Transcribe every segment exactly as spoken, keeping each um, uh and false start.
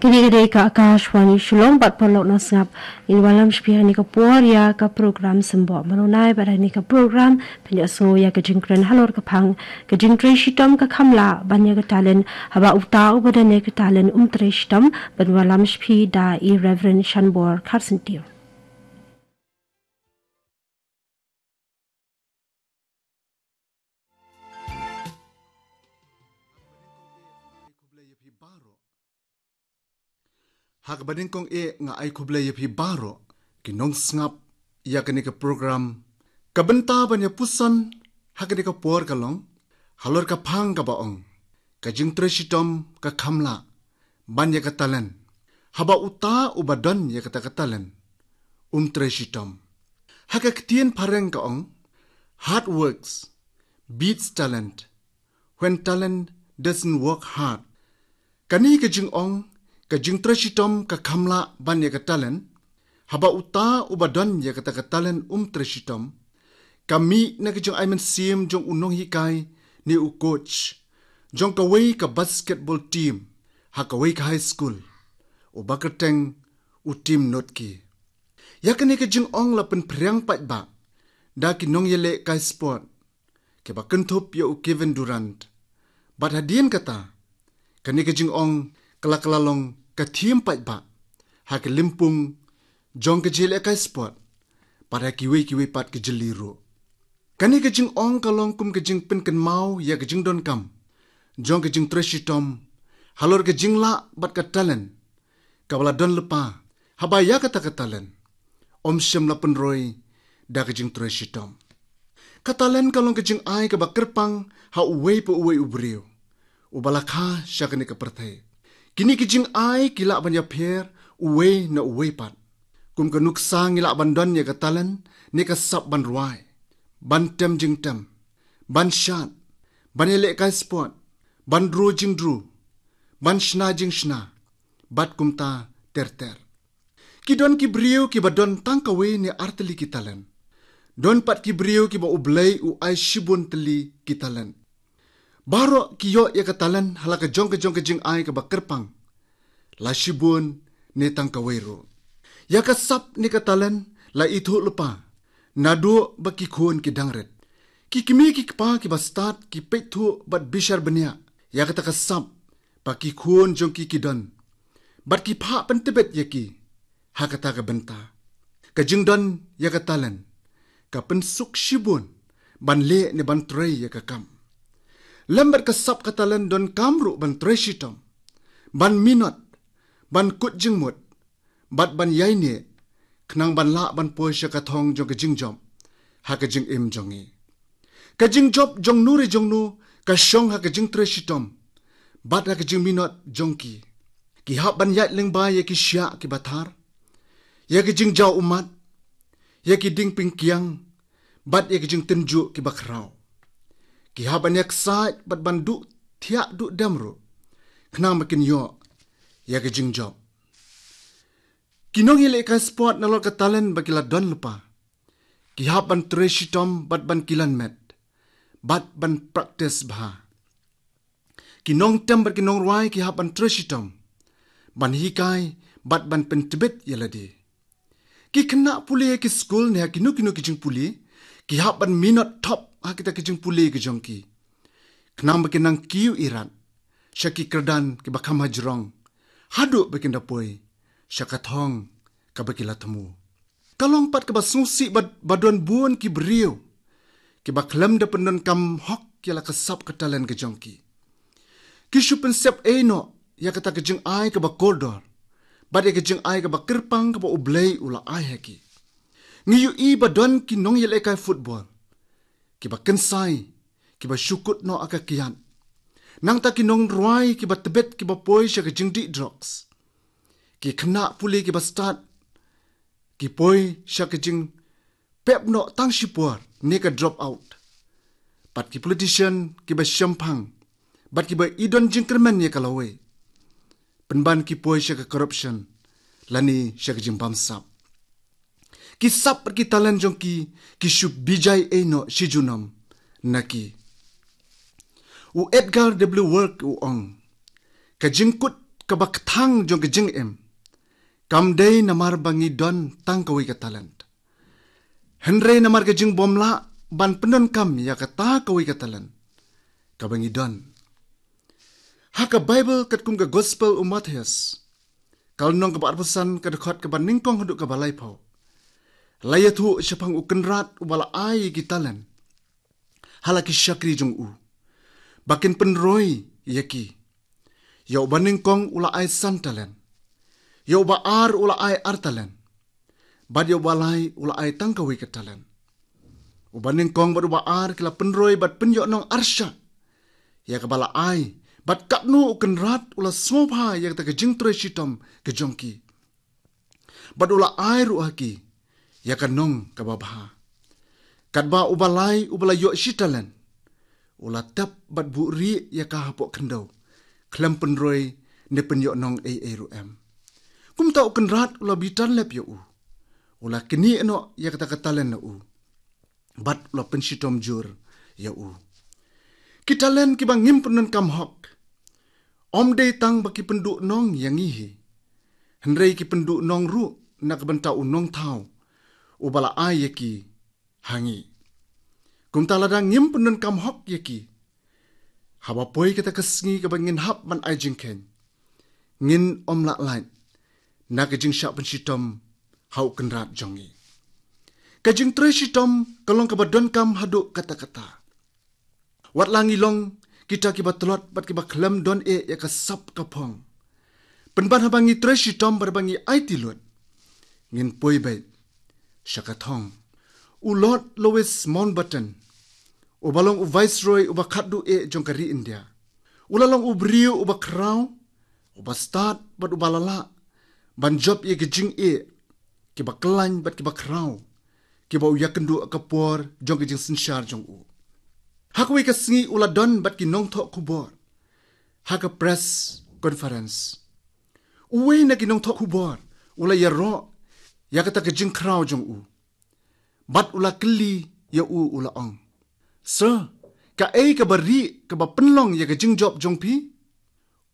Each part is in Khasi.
Kane ka dei ka Akashvani Shillong, bad paralok nongsngap, ngin wallam sha phi ha kane ka por ïa ka program Symboh Mawnai, bad ha kane ka program phin ïohsngew ïa ka jingkren halor ka phang ka jingtrei shitom ka kham lah ban ïa ka talent, haba uta uba don ïa ka talent um trei shitom. Ban wallam sha phi da i Reverend Shanbor Kharsyntiew. Ha kaba nyngkong eh nga ai khublei ïa phi baroh ki nongsngap ïa kane ka program. Ka bynta ban ïa puson ha kane ka por ka long halor ka phang kaba ong, ka jingtrei shitom ka kham lah ban ïa ka talent, haba uta uba don ïa kata ka talent um trei shitom. Ha ka ktien phareng ka ong, hard works beats talent when talent doesn't work hard. Kane ka jingong, ka jingtrei shitom ka kham lah ban ïa ka talent, haba uta uba don ïa kata ka talent um trei shitom, ka mih na ka jingai mynsiem jong u nonghikai ne u coach jong kawei ka basketball team ha kawei ka high school, uba kyrteng u Tim Notke. Ïa kane ka jingong la pynphriang paidbah da ki nongïalehkai sport kiba kynthup ïa u Kevin Durant. Bad hadien kata, kane ka jingong ka la, ka la long ka thiem paidbah ha ka lympung jong ka jingïalehkai sport, bad ha kiwei kiwei pat ki jylla ruh. Kane ka jingong ka long kum ka jingpynkynmaw ïa ka jingdonkam jong ka jingtrei shitom halor ka jinglah bad ka talent kaba la don lypa, haba ïa kata ka talent ym shym la pynroi da ka jingtrei shitom. Ka talent ka long ka jingai kaba kyrpang ha uwei pa uwei u briew uba la kha sha kane ka pyrthei. Kine ki jingai ki lah ban ïapher uwei na uwei pat. Kum ka nuksa, ngi lah ban don ïa ka talent ne ka sap ban rwai, ban tem jingtem, ban shad, ban ïalehkai sport, ban dro jingdro, ban shna jingshna, bad kumta ter ter. Ki don ki briew kiba don tang kawei ne ar tylli ki talent. Don pat ki briew kiba U Blei u ai shibun tylli ki talent. Baroh ki ïoh ïa ka talent ha la ka jong ka jong ka jingai kaba kyrpang, la shibun ne tang kawei ruh. Ïa ka sap ne ka talent la ithuh lypa naduh ba ki khun ki dang rit. Ki kmie ki kpa kiba stad ki peit thuh bad bishar bniah ïa kata ka sap ba ki khun jong ki ki don, bad ki phah pyntbit ïa ki ha kata ka bynta. Ka jingdon ïa ka talent ka pynsuk shibun ban leh ne ban trei ïa ka kam. Lem bad ka sap ka talent, donkam ruh ban trei shitom, ban minot, ban kut jingmut, bad ban ïaineh, khnang ban lah ban poi sha ka thong jong ka jingjop ha ka jingim jong ngi. Ka jingjop jong nu re jong nu ka shong ha ka jingtrei shitom bad ha ka jingminot jong ki. Ki hap ban ïaid lyngba ïa ki shiah kiba thar, ïa ki jingjaw ummat, ïa ki dieng pingkiang, bad ïa ki jingtynjuh kiba khraw. Ki hap ban ïaksaid bad ban duh thiah duh dem ruh, khnang ba kin ïoh ïa ka jingjop. Ki nongïalehkai sport, nalor ka talent ba ki la don lypa, ki hap ban trei shitom bad ban kilan met, bad ban practice bha. Ki nongtem bad ki nongrwai ki hap ban trei shitom ban hikai bad ban pyntbit ïa lade. Ki khynnah pule ha ki skul ne ha kino kino ki jingpule, ki hap ban minot thop ha kita ki jingpule ki jong ki, khnang ba kin nang kiew irat sha ki kyrdan kiba kham hajrong, haduh ba kin da poi sha ka thong kaba ki la thmu. Ka long pat kaba sngewsih ba, ba don bun ki briew kiba khlem da pyndonkam hok ïa la ka sap ka talent ka jong ki. Ki shu pynsep ei noh ïa kata ka jingai kaba kordor bad ïa ka jingai kaba kyrpang kaba U Blei u la ai ha ki. Ngi ïohi ba don ki nongïalehkai football kiba kynsai, kiba shu kut noh ha ka kiad. Nangta ki nongrwai kiba tbit, kiba poi sha ka jingdih drugs. Ki khynnah pule kiba stad ki poi sha ka jingpep noh tang shipor ne ka drop out. Bad ki politician kiba shemphang bad kiba i don jingkyrmen ïa ka lawei, pynban ki poi sha ka corruption lane sha ka jingbamsap. Ki sap bad ki talent jong ki, ki shu bijai ei noh shi junom na ki. U Edgar W Work u ong, ka jingkut kaba kthang jong ka jingim kam dei namar ba ngi don tang kawei ka talent, hynrei namar ka jingbymlah ban pyndonkam ïa kata kawei ka talent kaba ngi don. Ha ka Baibl katkum ka Gospel u Mathaios, ka lynnong kaba arphew san, ka dkhot kaba nyngkong haduh kaba laiphew, la ïathuh shaphang u kynrad uba la ai ïa ki talent ha la ki shakri jong u ba kin pynroi ïa ki. Ïa uba nyngkong u la ai san talent, ïa uba ar u la ai ar talent, bad ïa uba lai u la ai tang kawei ka talent. Uba nyngkong bad uba ar ki la pynroi bad pynïohnong arshah ïa kaba la ai, bad katno u kynrad u la sngewbha ïa kata ka jingtrei shitom ka jong ki, bad u la ai ruh ha ki ïa ka nong kaba bha. Katba uba lai uba la ïoh shi talent, u la tep bad buhrieh ïa ka hapoh khyndew, khlem pynroi ne pynïohnong ei ei ruh em. Kumta u kynrad u la bitar lep ïa u, u la knieh noh ïa kata ka talent na u, bad u la pynshitom jur ïa u. Ki talent kiba ngim pyndonkam hok, ym dei tang ba ki pynduhnong ïa ngi hi, hynrei ki pynduhnong ruh na ka bynta u nongthaw uba la ai ïa ki ha ngi. Kumta lada ngim pyndonkam hok ïa ki, haba poi kata ka sngi kaba ngin hap ban ai jingkheiñ, ngin ym lah lait na ka jingshah pynshitom ha u kynrad jong ngi. Ka jingtrei shitom ka long kaba donkam haduh katta katta. Wat la ngi long kita kiba tlot bad kiba khlem don eh ïa ka sap ka phong, pynban haba ngi trei shitom bad haba ngi aiti lut, ngin poi beit sha ka thong. U Lord Louis Mountbatten, uba long u Viceroy uba khatduh eh jong ka ri India, u la long u briew uba khraw, uba stad bad uba la lah ban jop ïa ki jingeh kiba khlaiñ bad kiba khraw kiba u ïakynduh ha ka por jong ka jingsynshar jong u. Ha kawei ka sngi u la don bad ki nongthoh khubor ha ka press conference. Uwei na ki nongthoh khubor u la ïaroh ïa kata ka jingkhraw jong u, bad u la kylli ïa u, u la ong, "Sir, kaei kaba rieh kaba pynlong ïa ka jingjop jong phi?"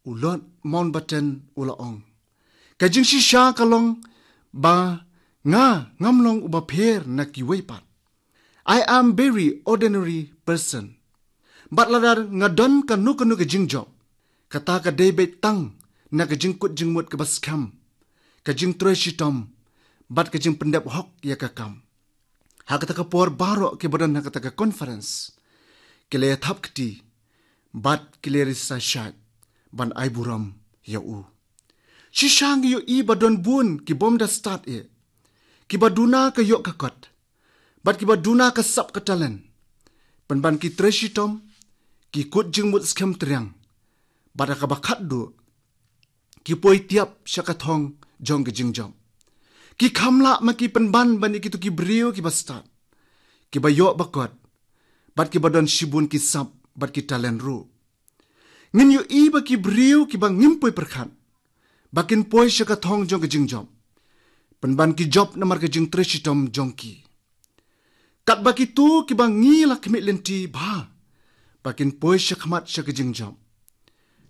U Lord Mountbatten u la ong, "Ka jingshisha ka long ba nga ngam long uba pher na kiwei pat. I am very ordinary person. Bad lada nga don kano kano ka jingjop, kata ka dei beit tang na ka jingkut jingmut kaba skhem, ka jingtrei shitom, bad ka jingpyndep hok ïa ka kam." Ha kata ka por baroh kiba don ha kata ka conference ki la ïathap kti bad ki la ri sa shait ban ai burom ïa u. Shisha ngi ïohi ba don bun ki bym da stad eh, kiba duna ka ïoh ka kot, bad kiba duna ka sap ka talent, pynban ki trei shitom, ki kut jingmut skhem triang, bad ha kaba khatduh ki poi tiap sha ka thong jong ka jingjop. Ki kham lah ma ki pynban ban ïa kito ki briew kiba stad, kiba ïoh ba kot, bad kiba don shibun ki sap bad ki talent ruh. Ngin ïohi ba ki briew kiba ngim poi pyrkhat ba kin poi sha ka thong jong ka jingjop, pynban ki jop namar ka jingtrei shitom jong ki. Katba kito kiba ngi la khmih lynti bha ba kin poi sha khmat sha ka jingjop,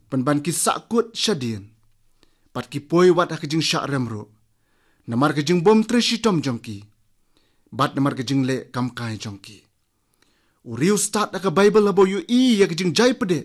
pynban ki sahkut shadien, bad ki poi wat ha ka jingshah rem ruh, namar ka jingbym trei shitom jong ki, bad namar ka jingleh kamkai jong ki. U riewstad ha ka Baibl haba u ïohi ïa ka jingjai pdeh